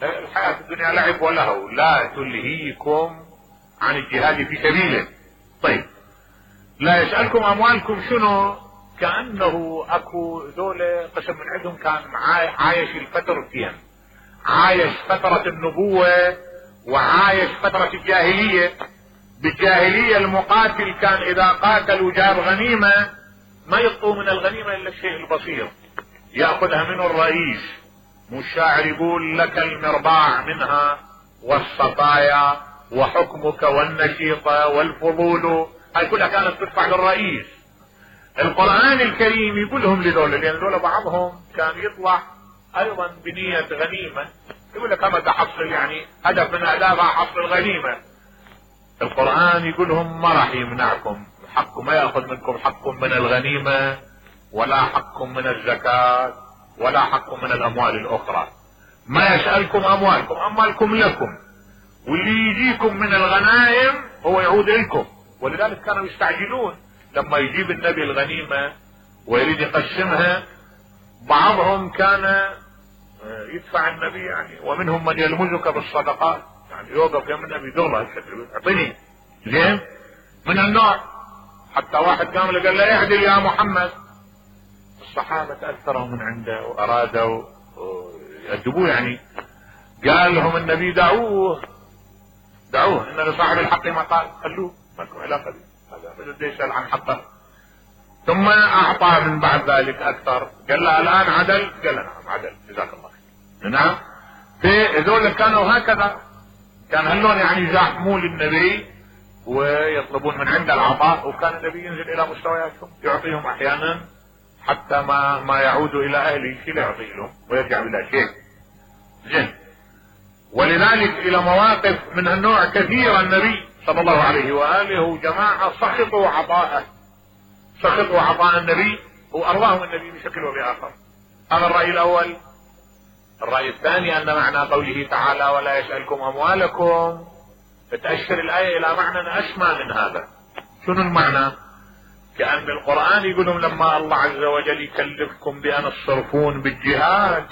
الحياة الدنيا لعب ولهو لا تلهيكم عن الجهاد في سبيله. طيب لا يسألكم اموالكم شنو؟ كأنه اكو ذولا قسم من عندهم كان عايش الفترتين، عايش فترة النبوة وعايش فترة الجاهلية. بالجاهلية المقاتل كان اذا قاتل وجاب غنيمة ما يعطوا من الغنيمة الا الشيء البسيط، يأخذها منه الرئيس، مو الشاعر يقول لك المرباع منها والصفايا وحكمك والنشيطة والفضول، هاي كلها كانت تدفع للرئيس. القرآن الكريم يقول لهم لذولا، لان ذولا بعضهم كان يطلع ايضا بنية غنيمة، يقول لك كما تحصل يعني هدف من اهدافها حصل الغنيمة. القرآن يقول لهم ما راح يمنعكم حق، ما يأخذ منكم حق من الغنيمة ولا حق من الزكاة ولا حق من الاموال الاخرى. ما يسألكم اموالكم، اموالكم لكم، واللي يجيكم من الغنائم هو يعود لكم. ولذلك كانوا يستعجلون لما يجيب النبي الغنيمة ويريد يقسمها، بعضهم كان يدفع النبي يعني، ومنهم من يلمزك بالصدقات، يعني يوقف يم النبي دغلا اعطيني، زين؟ من النوع حتى واحد قام له قال له اعدل يا محمد، الصحابة تأثروا من عنده وارادوا يأدبوه، يعني قال لهم النبي دعوه دعوه ان لصاحب الحق ما قال، خلوه ما لكم علاقة به، هذا بده يسأل عن حقه. ثم اعطى من بعد ذلك اكثر، قال له الان عدل، قال له نعم عدل جزاك الله خير. نعم، في هذول كانوا هكذا، كان هلون يعني يزاحمون للنبي ويطلبون من عنده العطاء، وكان النبي ينزل الى مستوياتهم يعطيهم احيانا حتى ما ما يعودوا الى اهله شيء لا يعطي لهم ويرجع بلا شيء، زين؟ ولذلك الى مواقف من النوع كثيرة النبي صلى الله عليه واله وجماعة سخطوا عطاءه، سخطوا عطاء النبي وارضاهم النبي بشكل وبآخر. هذا الرأي الاول. الرأي الثاني ان معنى قوله تعالى ولا يسألكم اموالكم تأشر الآية الى معنى اسمى من هذا. شنو المعنى؟ كأن القرآن يقولون لما الله عز وجل يكلفكم بأن تصرفون بالجهاد،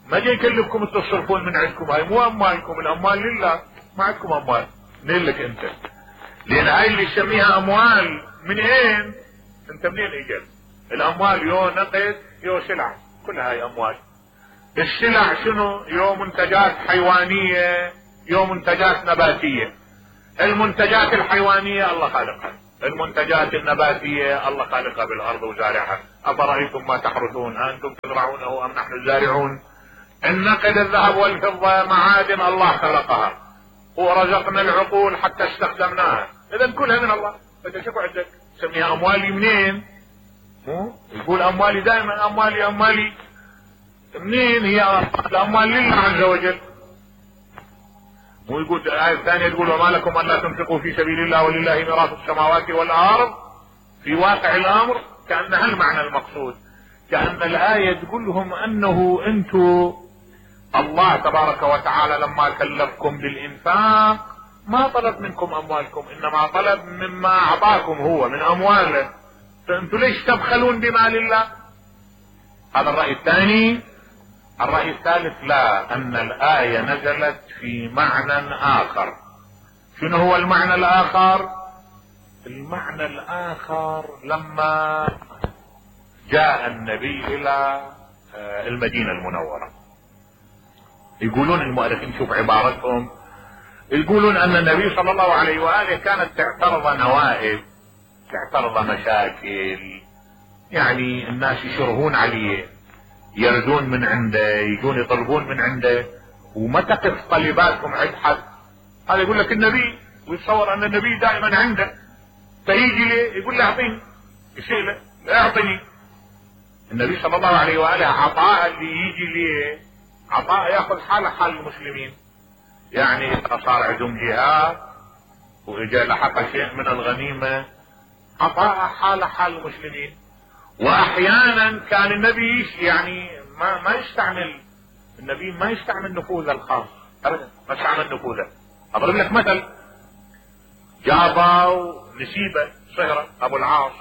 ما جاي يكلفكم تصرفون من عندكم، هاي مو اموالكم، الاموال لله، ما عندكم اموال، منين لك انت؟ لان هاي اللي يسميها اموال من اين؟ انت منين اجت؟ الاموال يو نقد يو سلع، كلها هاي اموال. السلع شنو؟ يو منتجات حيوانية يو منتجات نباتية. المنتجات الحيوانية الله خالقها، المنتجات النباتية الله خالقها بالارض وزارعها. افرأيتم ما تحرثون انتم تزرعونه ام نحن الزارعون. النقد الذهب والفضة معادن الله خلقها ورزقنا العقول حتى استخدمناها، اذا كلها من الله. انت شوف عندك سميها اموالي منين؟ مو يقول اموالي دائما اموالي اموالي منين؟ هي الاموال لله عز وجل. مو يقول الآية الثانية تقول وما لكم ألا تنفقوا في سبيل الله ولله ميراث السماوات والأرض. في واقع الأمر كأن هالمعنى المقصود، كأن الآية تقول لهم أنه أنتم الله تبارك وتعالى لما كلفكم بالإنفاق ما طلب منكم أموالكم، إنما طلب مما أعطاكم هو من أمواله، فأنتم ليش تبخلون بمال الله؟ هذا الرأي الثاني. الرأي الثالث لا، أن الآية نزلت في معنى آخر. شنو هو المعنى الآخر؟ المعنى الآخر لما جاء النبي إلى المدينة المنورة، يقولون المؤرخين شوف عبارتهم، يقولون أن النبي صلى الله عليه وآله كانت تعترض نوائب، تعترض مشاكل، يعني الناس يشرهون عليه، يردون من عنده، يجون يطلبون من عنده، وما تقف طلباتهم عند حد. هذا يقول لك النبي، ويتصور ان النبي دائما عنده، فيجي ليه يقول له اعطيني، يصير له لا اعطني. النبي صلى الله عليه واله عطاء اللي يجي ليه عطاء ياخذ حاله حال المسلمين، يعني اذا صار عندهم جهاد واجا لحق شيء من الغنيمه عطاء حاله حال المسلمين. واحيانا كان النبي يعني ما ما يستعمل، النبي ما يستعمل نفوذه الخاص ابدا، ما يستعمل نفوذه. اضرب لك مثل، جابوا نسيبه صهره ابو العاص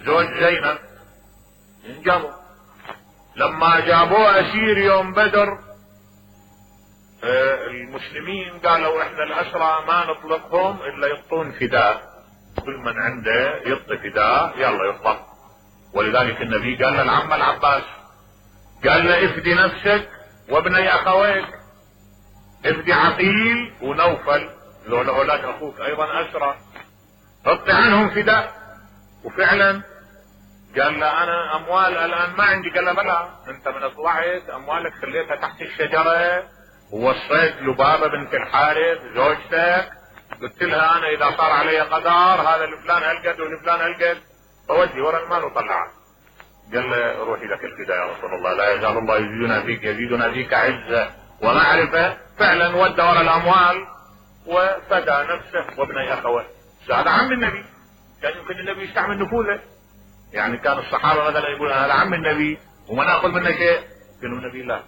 زوج زينب، جابوا لما جابوه اسير يوم بدر، آه المسلمين قالوا احنا الاسرى ما نطلقهم الا يعطون فداء، كل من عنده يعطي فداء يلا يطلق. ولذلك النبي قال للعم العباس، قال له افدي نفسك وابني اخويك، افدي عقيل ونوفل ذول اولاد اخوك ايضا اسرى، اعطي عنهم فداء. وفعلا قال له انا اموال الان ما عندي، قال له بلى انت من طلعت اموالك خليتها تحت الشجره، ووصيت لبابه بنت الحارث زوجتك قلت لها انا اذا صار علي قدر هذا لفلان هالقد ولفلان هالقد فودي ورا المال وطلعه. قال له روحي لك الفداء يا رسول الله، لا يزال الله يزيدنا فيك يزيدنا فيك عزه ومعرفه. فعلا ودى ورا الاموال وفدى نفسه وابني اخوه. هذا عم النبي، كان يمكن النبي يستعمل نفوذه، يعني كان الصحابه مثلا يقول هذا عم النبي وما ناخذ منه شيء، قالوا النبي لا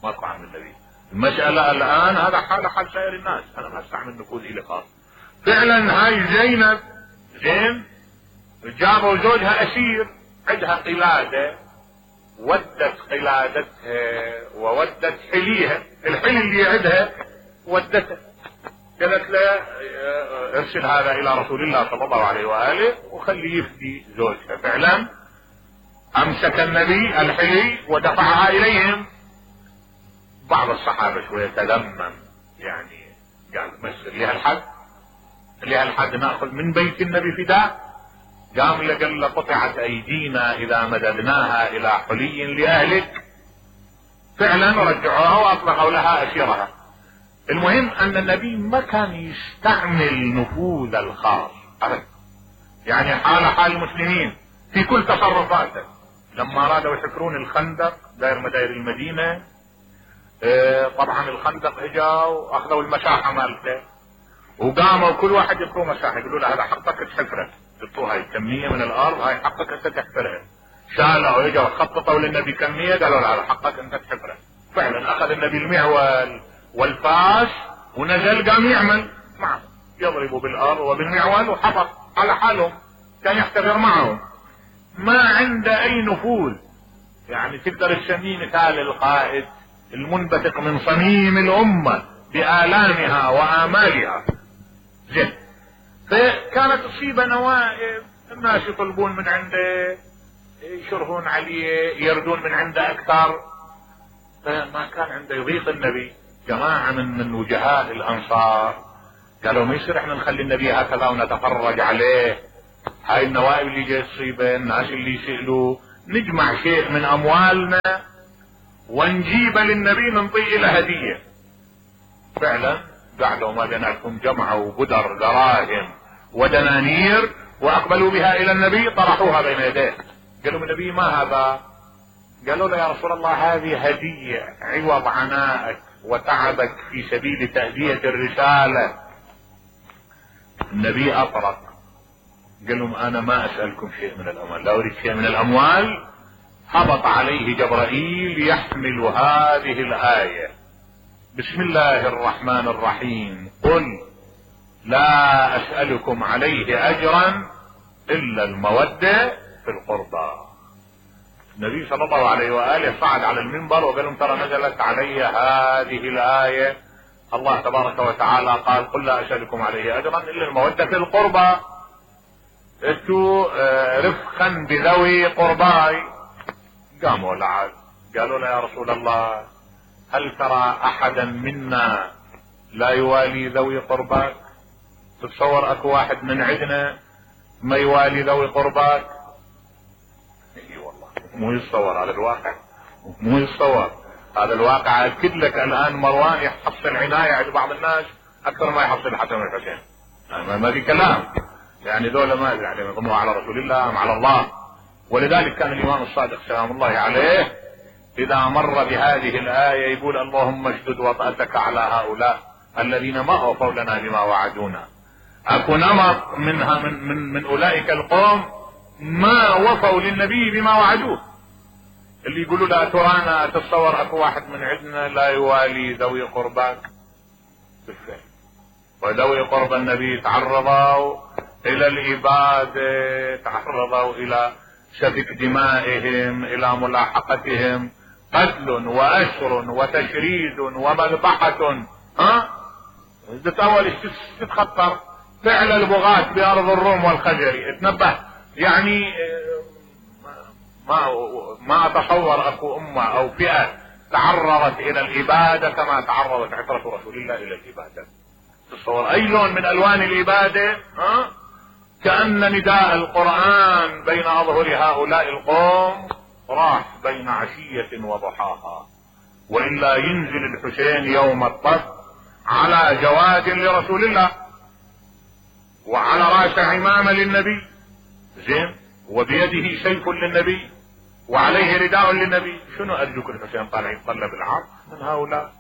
ماكو عم النبي. المساله الان هذا حال حال سائر الناس، انا ما استعمل نفوذ الي خاص. فعلا هاي زينب زين جابوا زوجها اسير، عندها قلاده، ودت قلادتها وودت حليها، الحلي اللي عندها ودته، قالت له ارسل هذا الى رسول الله صلى الله عليه واله وخليه يفدي زوجها. فعلا امسك النبي الحلي ودفعها اليهم. بعض الصحابه شويه تلمم، يعني قال مسر لها الحد، لها الحد ناخذ من بيت النبي فداء. قام له قال له قطعت ايدينا اذا مددناها الى حلي لاهلك. فعلا رجعوها واطلقوا لها اسيرها. المهم ان النبي ما كان يستعمل نفوذ الخاص ابدا، يعني حال حال المسلمين في كل تصرفاته. لما ارادوا يحفرون الخندق داير مداير المدينه، اه طبعا الخندق اجوا اخذوا المساحه مالته وقاموا كل واحد يعطوه مساحه، يقولوا له هذا حقك تحفره، يعطوه هاي كميه من الارض، هاي حقك انت تحفرها. شالوا اجوا خططوا للنبي كميه، قالوا له هذا حقك انت تحفره. فعلا اخذ النبي المعول والفاس ونزل قام يعمل معه، يضربوا بالارض وبالمعول وحفر على حالهم، كان يحتفر معهم، ما عنده اي نفوذ. يعني تقدر تسميه مثال القائد المنبثق من صميم الامه بآلامها وآمالها. زين، فكانت تصيب نوائب، الناس يطلبون من عنده، يشرهون عليه، يردون من عنده اكثر، فما كان عنده يضيق النبي. جماعة من من وجهاء الانصار قالوا ما يصير احنا نخلي النبي هكذا ونتفرج عليه هاي النوائب اللي جاي تصيبه، الناس اللي يسألوا، نجمع شيء من اموالنا ونجيب للنبي ننطيه له هدية. فعلا قعدوا ما بيناتهم جمعوا بدر دراهم ودنانير واقبلوا بها الى النبي، طرحوها بين يديه. قالوا النبي ما هذا؟ قالوا له يا رسول الله هذه هدية عوض عنائك وتعبك في سبيل تأدية الرسالة. النبي اطرق قال لهم انا ما اسألكم شيء من الاموال، لا اريد شيء من الاموال. هبط عليه جبرائيل يحمل هذه الآية: بسم الله الرحمن الرحيم، قل لا اسألكم عليه اجرا الا المودة في القربى. النبي صلى الله عليه وآله صعد على المنبر وقال لهم ترى نزلت علي هذه الآية، الله تبارك وتعالى قال قل لا اسألكم عليه اجرا الا المودة في القربى، انتوا رفقا بذوي قرباي. قاموا لعاد قالوا له يا رسول الله هل ترى احدا منا لا يوالي ذوي قرباك؟ تتصور اكو واحد من عندنا ما يوالي ذوي قرباك؟ اي والله مو يتصور هذا الواقع، مو يتصور هذا الواقع. اكد لك الان مروان يحصل عناية عند بعض الناس اكثر ما يحصل الحسن والحسين، يعني ما في كلام، يعني ذولا ما يعني يضموا على رسول الله ام على الله. ولذلك كان الامام الصادق سلام الله عليه اذا مر بهذه الآية يقول اللهم اشدد وطأتك على هؤلاء الذين ما اوفوا لنا بما وعدونا. اكو نمط منها من, من, من اولئك القوم ما وفوا للنبي بما وعدوه، اللي يقولوا لا ترانا تتصور اكو واحد من عندنا لا يوالي ذوي قرباك؟ بالفعل وذوي قرب النبي تعرضوا الى الابادة، تعرضوا الى سفك دمائهم، الى ملاحقتهم، قتل واسر وتشريد ومذبحة. ها تتأول تتخطر فعل البغاة بارض الروم والخزر. اتنبه يعني ما ما اتصور اكو امة او فئة تعرضت الى الابادة كما تعرضت عترة رسول الله الى الابادة. تصور اي لون من الوان الابادة، ها كأن نداء القرآن بين اظهر هؤلاء القوم راح بين عشية وضحاها. وإلا ينزل الحسين يوم الطف على جواد لرسول الله وعلى راس عمامة للنبي، زين، وبيده سيف للنبي وعليه رداء للنبي. شنو ارجوك الحسين طالع يتطلب العرض من هؤلاء؟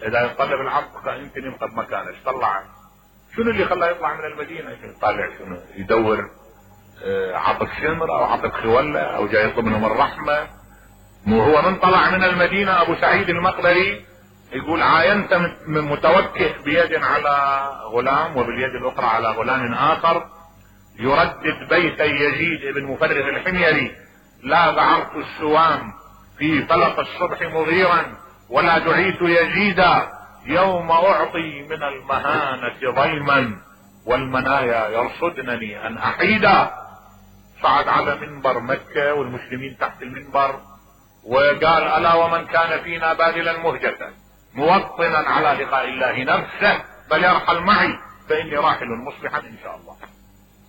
اذا يتطلب العرض يمكن ينقذ مكانه، ايش طلع؟ شنو اللي خلاه يطلع من المدينة؟ يطالع شنو؟ يدور عطف شمر او عطف خولة او جاي يطلب منهم الرحمة. مو هو من طلع من المدينة ابو سعيد المقبري يقول عاينت من متوكئ بيد على غلام وباليد الاخرى على غلام اخر يردد بيت يزيد بن مفرغ الحميري: لا ذعرت السوام في فلق الصبح مغيرا ولا دعيت يزيدا، يوم اعطي من المهانة ضيما والمنايا يرصدنني ان احيدا. صعد على منبر مكة والمسلمين تحت المنبر وقال: الا ومن كان فينا باذلا مهجة موطنا على لقاء الله نفسه فليرحل معي فاني راحل مصلحا ان شاء الله.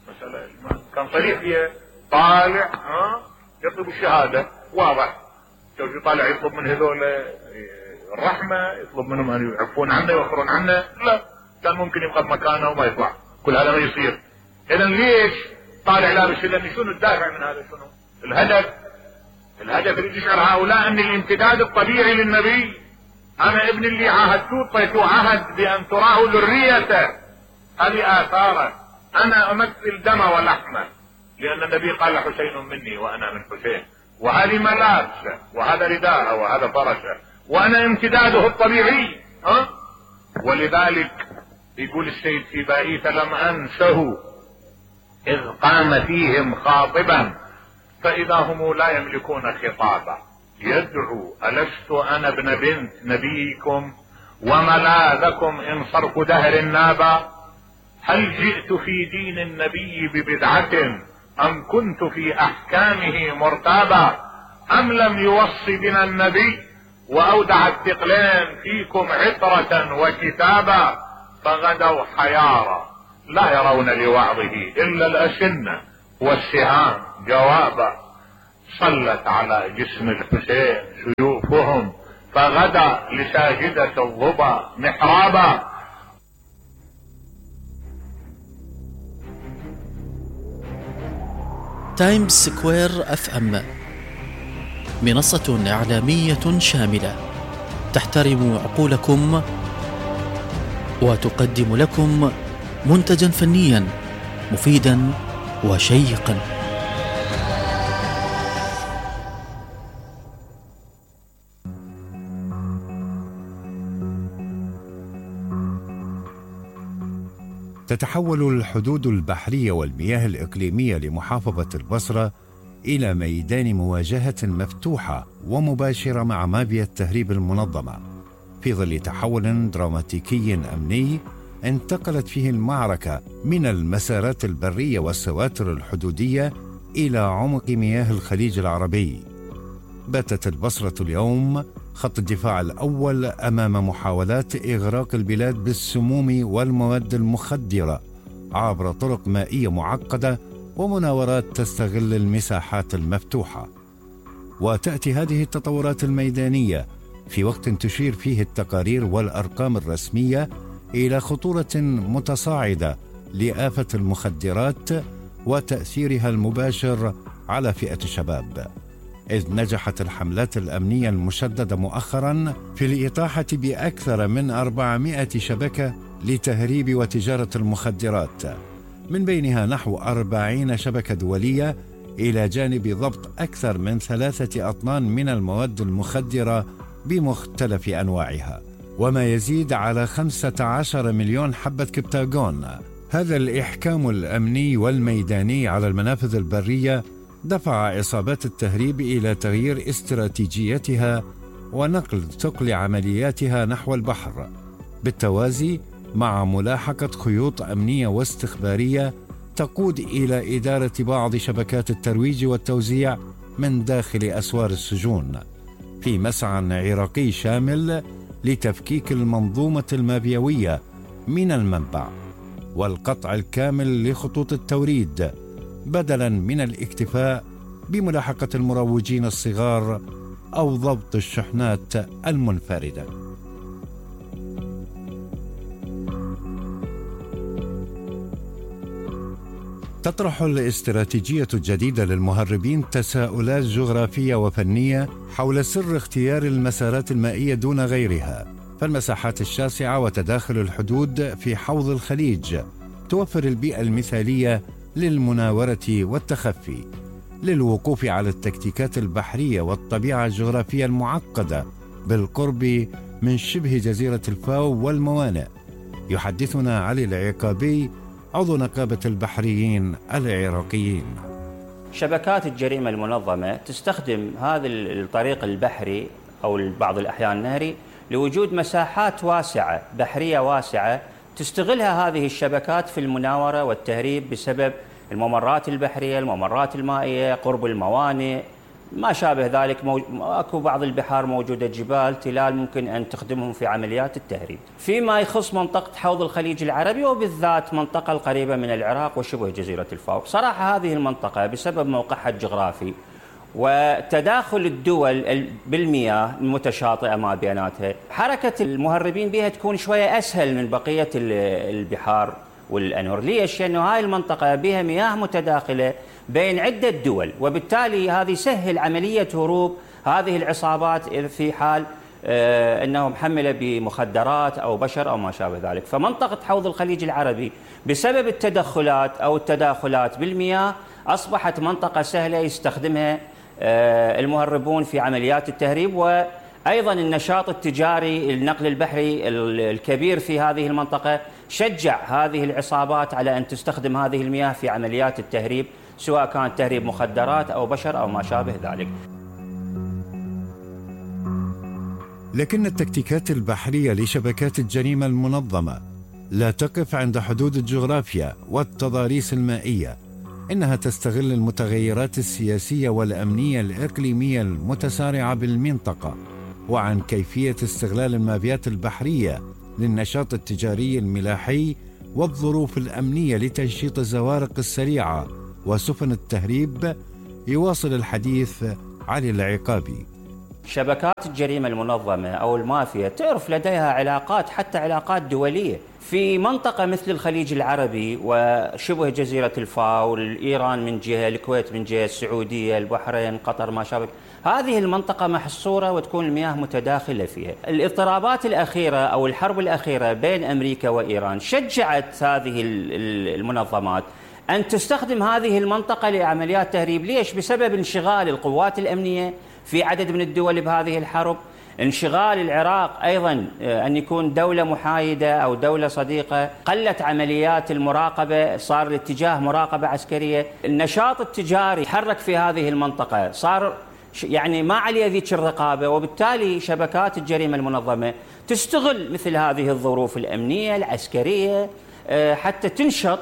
مسألة كان صريح فيها، طالع ها يطلب الشهادة واضح. شوف طالع يطلب من هذول الرحمة، يطلب منهم ان يعفون عنه يوخرون عنه، لا، كان ممكن يبقى بمكانه وما يطلع. كل هذا ما يصير. اذا ليش طالع لابس؟ لان شنو الدافع من هذا؟ شنو الهدف؟ الهدف اللي يشعر هؤلاء ان الامتداد الطبيعي للنبي. انا ابن اللي عاهدتوه اعطيتوه عهد بان تراه ذريته، هذه اثاره. انا امثل دم ولحمه لان النبي قال حسين مني وانا من حسين، وهذه ملابسه وهذا رداءه وهذا فرسه وانا امتداده الطبيعي. ها ولذلك يقول السيد سيبائي: فلم انسه اذ قام فيهم خاطبا فاذا هم لا يملكون خطابا، يدعو: الست انا ابن بنت نبيكم وملاذكم ان صرف دهر نابا؟ هل جئت في دين النبي ببدعة ام كنت في احكامه مرتابا؟ ام لم يوص بنا النبي واودع الثقلين فيكم عطرة وكتابا؟ فغدوا حيارى لا يرون لوعظه الا الاشنة والسهام جوابا، صلت على جسم الحسين سيوفهم فغدا لساجدة الظبا محرابا. تايمز سكوير اف ام، منصة إعلامية شاملة تحترم عقولكم وتقدم لكم منتجا فنيا مفيدا وشيقا. تتحول الحدود البحرية والمياه الإقليمية لمحافظة البصرة إلى ميدان مواجهة مفتوحة ومباشرة مع مافيا التهريب المنظمة، في ظل تحول دراماتيكي أمني انتقلت فيه المعركة من المسارات البرية والسواتر الحدودية إلى عمق مياه الخليج العربي. باتت البصرة اليوم خط الدفاع الأول أمام محاولات إغراق البلاد بالسموم والمواد المخدرة عبر طرق مائية معقدة ومناورات تستغل المساحات المفتوحة. وتأتي هذه التطورات الميدانية في وقت تشير فيه التقارير والأرقام الرسمية إلى خطورة متصاعدة لآفة المخدرات وتأثيرها المباشر على فئة الشباب، إذ نجحت الحملات الأمنية المشددة مؤخراً في الإطاحة بأكثر من أربعمائة شبكة لتهريب وتجارة المخدرات، من بينها نحو أربعين شبكة دولية، إلى جانب ضبط أكثر من ثلاثة أطنان من المواد المخدرة بمختلف أنواعها، وما يزيد على خمسة عشر مليون حبة كبتاغون. هذا الإحكام الأمني والميداني على المنافذ البرية دفع عصابات التهريب إلى تغيير استراتيجيتها ونقل ثقل عملياتها نحو البحر، بالتوازي مع ملاحقة خيوط أمنية واستخبارية تقود إلى إدارة بعض شبكات الترويج والتوزيع من داخل أسوار السجون، في مسعى عراقي شامل لتفكيك المنظومة المافيوية من المنبع والقطع الكامل لخطوط التوريد، بدلاً من الاكتفاء بملاحقة المروجين الصغار أو ضبط الشحنات المنفردة. تطرح الاستراتيجية الجديدة للمهربين تساؤلات جغرافية وفنية حول سر اختيار المسارات المائية دون غيرها، فالمساحات الشاسعة وتداخل الحدود في حوض الخليج توفر البيئة المثالية للمناورة والتخفي، للوقوف على التكتيكات البحرية والطبيعة الجغرافية المعقدة بالقرب من شبه جزيرة الفاو والموانئ. يحدثنا علي العقابي، عضو نقابة البحريين العراقيين. شبكات الجريمة المنظمة تستخدم هذا الطريق البحري أو بعض الأحيان النهري لوجود مساحات واسعة بحرية واسعة تستغلها هذه الشبكات في المناورة والتهريب بسبب الممرات البحرية، الممرات المائية، قرب الموانئ، ما شابه ذلك. مو... اكو بعض البحار موجودة جبال تلال ممكن أن تخدمهم في عمليات التهريب. فيما يخص منطقة حوض الخليج العربي وبالذات منطقة القريبة من العراق وشبه جزيرة الفاو، صراحة هذه المنطقة بسبب موقعها الجغرافي وتداخل الدول بالمياه المتشاطئة ما بيناتها، حركة المهربين بها تكون شوية أسهل من بقية البحار والأنهر. ليش؟ لأنه هاي المنطقة بها مياه متداخلة بين عدة دول، وبالتالي هذه سهل عملية هروب هذه العصابات في حال آه أنه محملة بمخدرات أو بشر أو ما شابه ذلك. فمنطقة حوض الخليج العربي بسبب التدخلات أو التداخلات بالمياه أصبحت منطقة سهلة يستخدمها آه المهربون في عمليات التهريب، وأيضا النشاط التجاري النقل البحري الكبير في هذه المنطقة شجع هذه العصابات على أن تستخدم هذه المياه في عمليات التهريب، سواء كان تهريب مخدرات أو بشر أو ما شابه ذلك. لكن التكتيكات البحرية لشبكات الجريمة المنظمة لا تقف عند حدود الجغرافيا والتضاريس المائية، إنها تستغل المتغيرات السياسية والأمنية الإقليمية المتسارعة بالمنطقة، وعن كيفية استغلال المافيات البحرية للنشاط التجاري الملاحي والظروف الأمنية لتنشيط الزوارق السريعة وسفن التهريب. يواصل الحديث علي العقابي. شبكات الجريمة المنظمة أو المافيا تعرف لديها علاقات، حتى علاقات دولية في منطقة مثل الخليج العربي وشبه جزيرة الفاو، إيران من جهة، الكويت من جهة، السعودية، البحرين، قطر، ما شابه. هذه المنطقة محصورة وتكون المياه متداخلة فيها. الاضطرابات الأخيرة أو الحرب الأخيرة بين أمريكا وإيران شجعت هذه المنظمات أن تستخدم هذه المنطقة لعمليات تهريب. ليش؟ بسبب انشغال القوات الأمنية في عدد من الدول بهذه الحرب، انشغال العراق أيضا أن يكون دولة محايدة أو دولة صديقة، قلت عمليات المراقبة، صار الاتجاه مراقبة عسكرية، النشاط التجاري تحرك في هذه المنطقة، صار يعني ما عليه ذيك الرقابة، وبالتالي شبكات الجريمة المنظمة تستغل مثل هذه الظروف الأمنية العسكرية حتى تنشط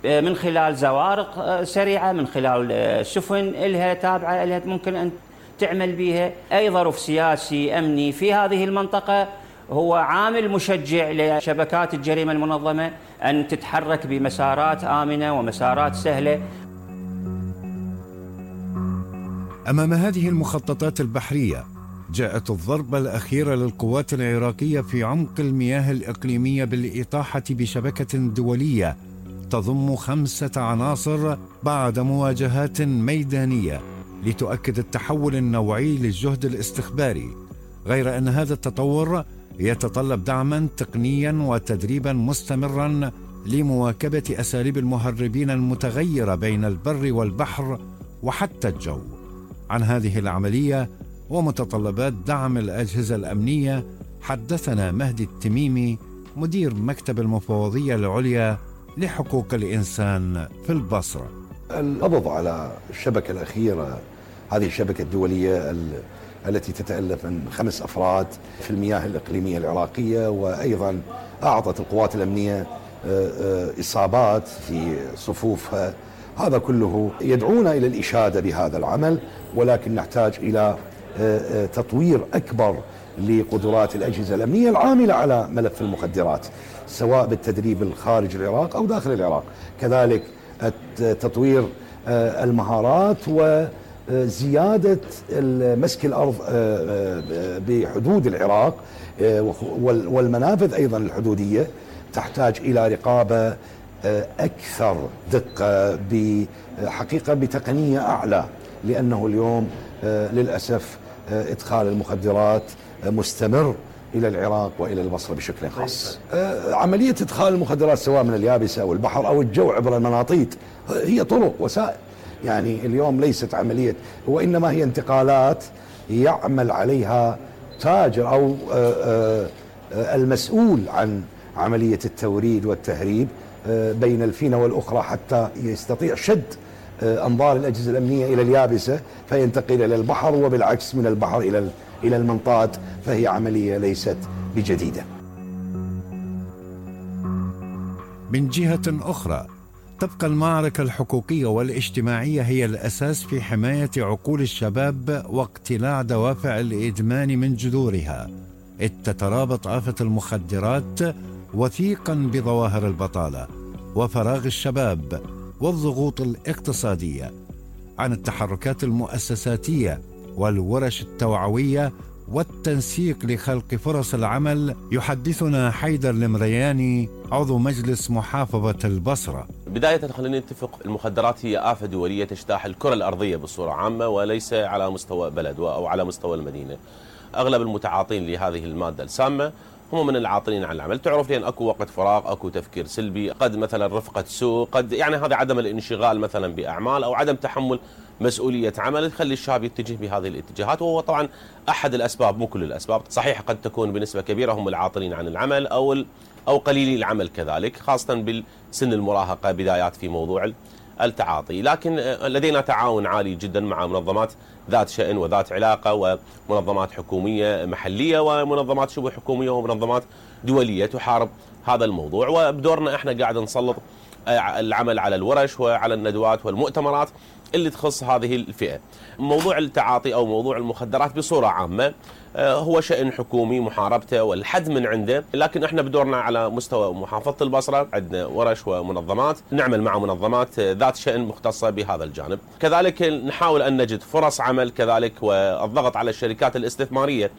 من خلال زوارق سريعة، من خلال سفن إلها تابعة إلها ممكن أن تعمل بها. أي ظرف سياسي أمني في هذه المنطقة هو عامل مشجع لشبكات الجريمة المنظمة أن تتحرك بمسارات آمنة ومسارات سهلة. أمام هذه المخططات البحرية جاءت الضربة الأخيرة للقوات العراقية في عمق المياه الإقليمية بالإطاحة بشبكة دولية تضم خمسة عناصر بعد مواجهات ميدانية لتؤكد التحول النوعي للجهد الاستخباري، غير أن هذا التطور يتطلب دعما تقنيا وتدريبا مستمرا لمواكبة أساليب المهربين المتغيرة بين البر والبحر وحتى الجو. عن هذه العملية ومتطلبات دعم الأجهزة الأمنية حدثنا مهدي التميمي، مدير مكتب المفوضية العليا لحقوق الإنسان في البصرة. القبض على الشبكة الأخيرة، هذه الشبكة الدولية التي تتألف من خمس أفراد في المياه الإقليمية العراقية، وأيضا أعطت القوات الأمنية إصابات في صفوفها، هذا كله يدعونا إلى الإشادة بهذا العمل، ولكن نحتاج إلى تطوير أكبر لقدرات الأجهزة الأمنية العاملة على ملف المخدرات، سواء بالتدريب الخارج العراق أو داخل العراق. كذلك تطوير المهارات وزيادة مسك الأرض بحدود العراق والمنافذ أيضا الحدودية تحتاج إلى رقابة أكثر دقة، بحقيقة بتقنية أعلى، لأنه اليوم للأسف إدخال المخدرات مستمر إلى العراق وإلى البصرة بشكل خاص. عملية إدخال المخدرات سواء من اليابسة أو البحر أو الجو عبر المناطيد هي طرق وسائل، يعني اليوم ليست عملية، وإنما هي انتقالات يعمل عليها تاجر أو المسؤول عن عملية التوريد والتهريب بين الفينة والأخرى حتى يستطيع شد أنظار الأجهزة الأمنية إلى اليابسة فينتقل إلى البحر، وبالعكس من البحر إلى إلى المنطاد، فهي عملية ليست بجديدة. من جهة أخرى تبقى المعركة الحقوقية والاجتماعية هي الأساس في حماية عقول الشباب واقتلاع دوافع الإدمان من جذورها، إذ تترابط آفة المخدرات وثيقا بظواهر البطالة وفراغ الشباب والضغوط الاقتصادية. عن التحركات المؤسساتية والورش التوعوية والتنسيق لخلق فرص العمل يحدثنا حيدر المرياني، عضو مجلس محافظة البصرة. بداية خلينا نتفق، المخدرات هي آفة دولية تجتاح الكرة الأرضية بصورة عامة، وليس على مستوى بلد أو على مستوى المدينة. أغلب المتعاطين لهذه المادة السامة هم من العاطلين عن العمل، تعرف لأن أكو وقت فراغ، أكو تفكير سلبي، قد مثلا رفقة سوء، قد يعني هذا عدم الانشغال مثلا بأعمال أو عدم تحمل مسؤولية عمل تخلي الشاب يتجه بهذه الاتجاهات، وهو طبعا أحد الأسباب، مو كل الأسباب، صحيح قد تكون بنسبة كبيرة هم العاطلين عن العمل أو أو قليلي العمل كذلك، خاصة بالسن المراهقة بدايات في موضوع التعاطي. لكن لدينا تعاون عالي جدا مع منظمات ذات شأن وذات علاقة، ومنظمات حكومية محلية ومنظمات شبه حكومية ومنظمات دولية تحارب هذا الموضوع، وبدورنا احنا قاعد نسلط العمل على الورش وعلى الندوات والمؤتمرات اللي تخص هذه الفئة. موضوع التعاطي أو موضوع المخدرات بصورة عامة هو شأن حكومي محاربته والحد من عنده، لكن احنا بدورنا على مستوى محافظة البصرة عندنا ورش ومنظمات نعمل مع منظمات ذات شأن مختصة بهذا الجانب، كذلك نحاول أن نجد فرص عمل كذلك والضغط على الشركات الاستثمارية